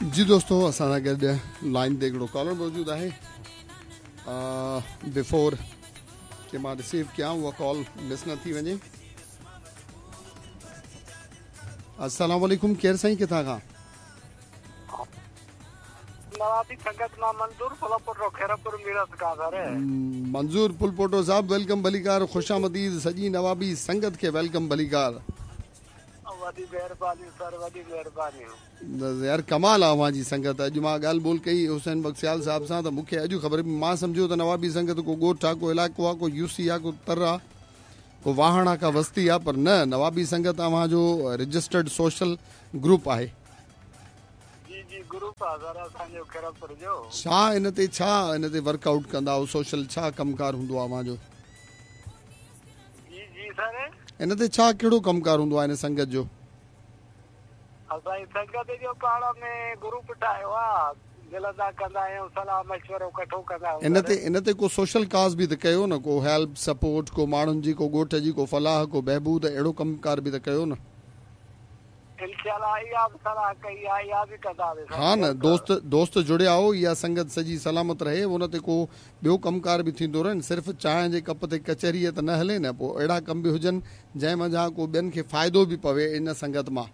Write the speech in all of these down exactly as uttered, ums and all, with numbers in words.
जी दोस्तों, असां सां गॾु लाइन ते हिकिड़ो कॉलर मौजूदु आहे। बिफोर कि मां रिसीव कयां उहा कॉल मिस न थी वञे। अस्सलाम वालेकुम, केरु साईं, किथां खां? नवाबी संगत मां मंजूर पुलपोटो, खैरपुर मीरत खां सर। मंजूर पुलपोटो साहब, welcome भलीकार, ख़ुशामदीद। सॼी नवाबी संगत खे welcome भलीकार। वॾी महिरबानी सर, वॾी महिरबानी। यार कमाल आहे अव्हां जी संगत। अॼु मां ॻाल्हि ॿोल कई हुसैन बख्सियाल साहब सां त मूंखे अॼु ख़बर, मां सम्झो त नवाबी संगत को ॻोठु आहे, को इलाइक़ो आहे, को यूसी आहे, को तर आहे, को वाहण आहे, का वस्ती आहे, पर न, नवाबी संगत अव्हांजो रजिस्टर्ड सोशल ग्रुप आहे। जी जी, ग्रुप आहे सर असांजो खैरपुर जो। छा इन ते, छा इन ते वर्कआउट कंदा आहियो? सोशल छा कमकार हूंदो आहे अव्हांजो? जी जी सर, इन ते छा कहिड़ो कमकार हूंदो आहे इन संगत जो? असांजी संगत जो पाण में ग्रुप ठाहियो आहे, मिलंदा कंदा आहियूं, सलाह मशवरो इकट्ठो कंदा आहियूं। इन ते इन ते को सोशल काज़ बि त कयो न, को हेल्प सपोर्ट, को माण्हुनि जी, को ॻोठ जी, को फलाह, को बहबूद, अहिड़ो कमकार बि त कयो न। इंशाअल्लाह इहा बि सलाह कई आहे, इहा बि कंदासीं। हा न, दोस्त दोस्त जुड़िया हो, इहा संगत सॼी सलामत रहे, उन ते को ॿियो कमकार बि थींदो रहे। सिर्फ़ु चांहि जे कप ते कचहरी त न हले न, पोइ अहिड़ा कम बि हुजनि जंहिं मंझां को ॿियनि खे फ़ाइदो बि पवे इन संगत मां।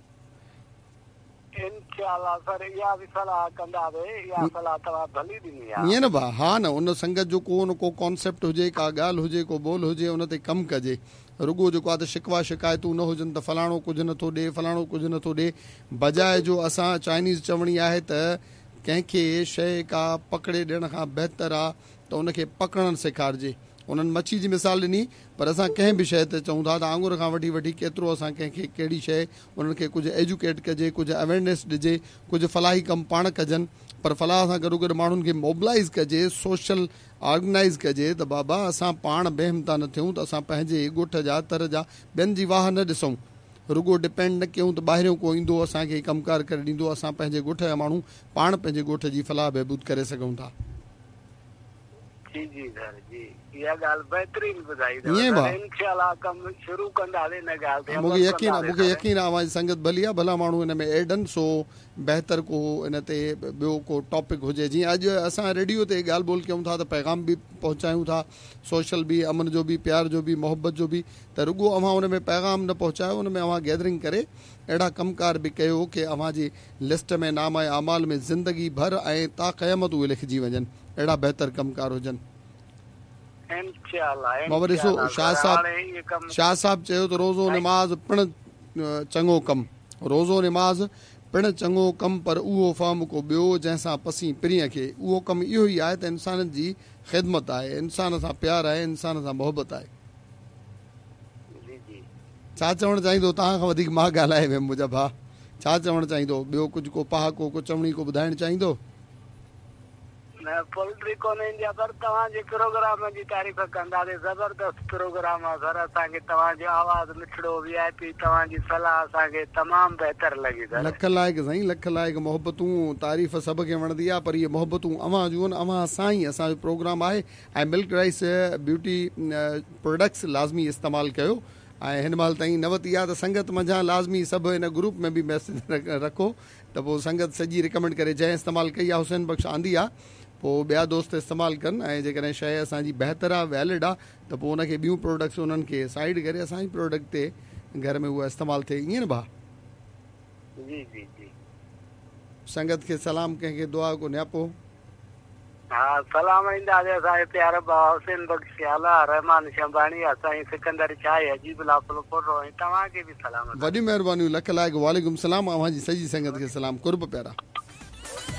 इंशाअल्लाह सर, इहा बि सलाह कंदासीं, इहा सलाह तव्हां भली ॾिनी आहे। ईअं न भाउ, हा न, उन संगत जो को न को कॉन्सेप्ट हुजे, का ॻाल्हि हुजे, को ॿोल हुजे, उन ते कमु कजे। रुगो जेको आहे त शिकवा शिकायतूं न हुजनि त फलाणो कुझु नथो ॾे, फलाणो कुझु नथो ॾे। बजाए जो असां चाइनीज़ चवणी आहे त कंहिंखे शइ का पकड़े ॾियण खां बहितर आहे त उनखे पकड़णु सेखारिजे। उन्हनि मच्छी जी मिसाल ॾिनी, पर असां कंहिं बि शइ ते चऊं था त आङुर खां वठी वठी केतिरो असां कंहिंखे कहिड़ी शइ, उन्हनि खे कुझु एजुकेट कजे, कुझु अवेयरनेस ॾिजे, कुझु फलाही कमु पाण कजनि, पर फलाह सां गॾो गॾु माण्हुनि खे मोबिलाइज़ कजे, सोशल ऑर्गेनाइज़ कजे त बाबा असां पाण बेहिमता न थियूं, त असां पंहिंजे ॻोठ जा, तर जा, ॿियनि जी वाह न ॾिसूं, रुगो डिपेंड न कयूं त ॿाहिरियों को ईंदो असांखे कमकार करे ॾींदो। असां पंहिंजे ॻोठ जा माण्हू पाण पंहिंजे ॻोठ जी फलाह बहबूद करे सघूं था। जी जी सर जी, इहा ॻाल्हि बहितरीन ॿुधाई अथव। इंशाअल्लाह कमु शुरू कंदासीं इन ॻाल्हि ते। मूंखे यकीन आहे, मूंखे यकीन आहे अव्हांजी संगत भली आहे, भला माण्हू हिन में एड आहिनि, सो बहितर को इन ते ॿियो को टॉपिक हुजे। जीअं अॼु असां रेडियो ते ॻाल्हि ॿोल कयूं था त पैगाम बि पहुचायूं था, सोशल बि, अमन जो बि, प्यार जो बि, मोहबत जो बि, त रुगो अव्हां उन में पैगाम न पहुचायो, उन में अव्हां गैदरिंग करे अहिड़ा कमकार बि कयो की अव्हांजी लिस्ट में नाम ऐं आमाल में ज़िंदगी भर ऐं ता क़यामत उहे लिखिजी वञनि, अहिड़ा बहितर कमकार हुजनि। इंशाअल्लाह। ॾिसो शाह साहब, शाह साहब चयो त रोज़ो नमाज़ पिणु चङो कमु, रोज़ो नमाज़ पिणु चङो कमु, पर उहो फ़हम को ॿियो जंहिंसां पसी परींअ खे। उहो कमु इहो ई आहे त इंसाननि जी ख़िदमत आहे, इंसान सां प्यार आहे, इंसान सां मोहबत आहे। छा चवणु चाहींदो? तव्हां खां वधीक मां ॻाल्हाए वियुमि मुंहिंजा भाउ, छा चवणु चाहींदो? ॿियो कुझु को पहाको, को चवणी को ॿुधाइणु चाहींदो? न, पोल्ट्री कोन ईंदी आहे, पर तव्हांजे प्रोग्राम जी तारीफ़ कंदासीं। ज़बरदस्त प्रोग्राम आहे सर, असांखे तव्हांजो आवाज़ मिठड़ो, वी I P, तव्हांजी सलाह असांखे तमामु बहितर लॻी सर। लख लाइक़ साईं, लख लाइक़। मोहबतूं तारीफ़ सभ खे वणंदी आहे, पर इहे मोहबतूं अव्हां जूं आहिनि, अव्हां सां ई असांजो प्रोग्राम आहे। ऐं मिल्क राइस ब्यूटी प्रोडक्ट्स लाज़मी इस्तेमालु कयो। ऐं हिन महिल ताईं न वरिती आहे त संगत मंझां लाज़मी सभु हिन ग्रुप में बि मैसेज रखो त पोइ संगत सॼी रिकमेंड करे। जंहिं इस्तेमालु कई आहे हुसैन बख़्श आंदी आहे, पोइ ॿिया दोस्त इस्तेमालु कनि। ऐं जेकॾहिं शइ असांजी बहितर आहे, वैलिड आहे, त पोइ उनखे ॿियूं प्रोडक्ट्स उन्हनि खे साइड करे असांजी प्रोडक्ट ते घर में उहा इस्तेमालु थिए। ईअं न भाउ? जी जी जी। संगत खे सलाम, कंहिंखे दुआ को न्यापो। हा, सलाम ईंदासीं असांजे प्यारे भाउ हुसैन बख़्श सियाला, रहमान शंभाणी, असांजी सिकंदर शाह, अजीब पुलपोटो, ऐं तव्हांखे बि सलाम। वॾियूं महिरबानियूं, लख लाइक़। वालेकुम सलाम। अव्हांजी सॼी संगत खे सलाम। कुर्ब प्यारा।